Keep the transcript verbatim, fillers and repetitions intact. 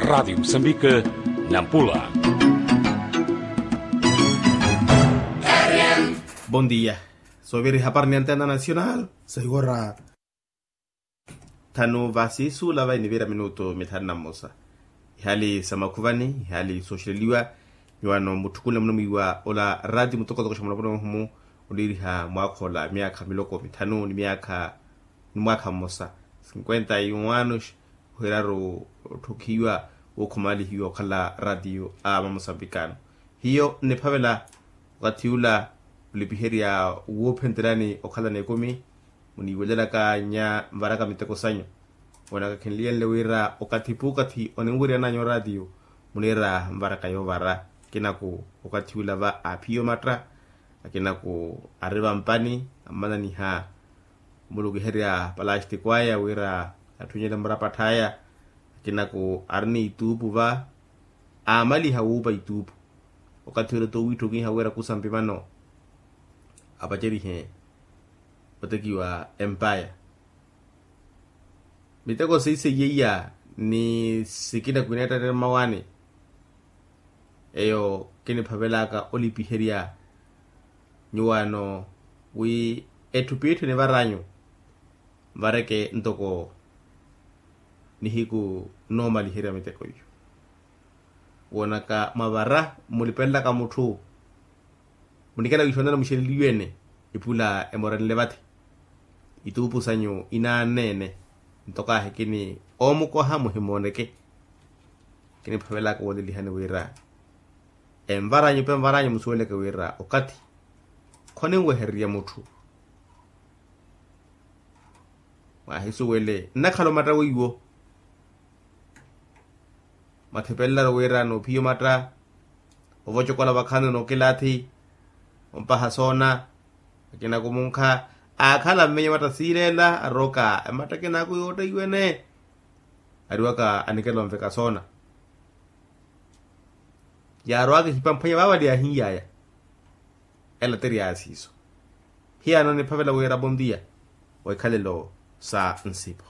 Radiyo musambika, nampula. Bondia. Soovira ehapari ni antena nacional saiwara. Thanu vasiisuula vayi niviira minutu mithanu na mmosa. Ihali sa makhuvani, ihali sooxeleliwa. Nyuwaano mutthukunle munamwiiwa ola ratiyo mutokotoko xa mulaponi muhumu, oniiriha mwaakha ola myaakha miloko mithanu ni myaakha ni mwaakha mmosa, cinquenta e um anos. Ohiraru otthukhiwa wookhumalihiwa okhala ratiyo a mamusambikano. Hiyo nniphavela wakathi ula olipiherya woophenteryani okhalana ekumi. Muniiwelelaka nnya nvaraka miteko sanyu. Woonaka khinliyenle wira okathi puukathi oninwiryananyu oratiyo muniira nvaraka yoovara. Akinaku okathi ula va aaphiya omatta. Akinaku ari vampani ammananiha omulukiherya palastiko aya wira atthunnyele murapatth'aya. Akinaku ari ni ituupu va aamaliha wuupa ituupu. Okathi ula t'owiitthokiha wira kusampi vano apacerihe otekiwa empaya. Miteko seiseiyeiya ni sikina kwineettattere mmawaani. Eyo kiniphavelaka olipiherya nyuwaano wi etthu piitthu enivaranyu nvareke ntoko nihiku noomaliherya miteko iyo. Woonaka mwavara mmulipelelaka mutthu munikela wiixoonela muxeleliwe-ene ipula emoranile vathi. Ituupu sanyu inaanne-ene ntoko ahi kini oomukoha muhimooneke. Kiniphavelaka woolelihani wira envaranyu pe envaranyu musuweleke wira okathi khoninwehererya mutthu. Mwaahisuwele nnakhala omatta weiwo. Mwathipelelaru wira noophiya omatta ovocokola vakhaani nookilaathi ompaha soona. Akina kumunkha aakhala mmenye omatta siileela arooka ematta akinaku yootteiwene. Ariwaka anikela onveka soona yaarowaka ehipamphwanya vaavali yaahin'yaya. Ela tiri yaasiiso. Hiyaano niphavela wira bondia wa ikhalelo sa nsipo.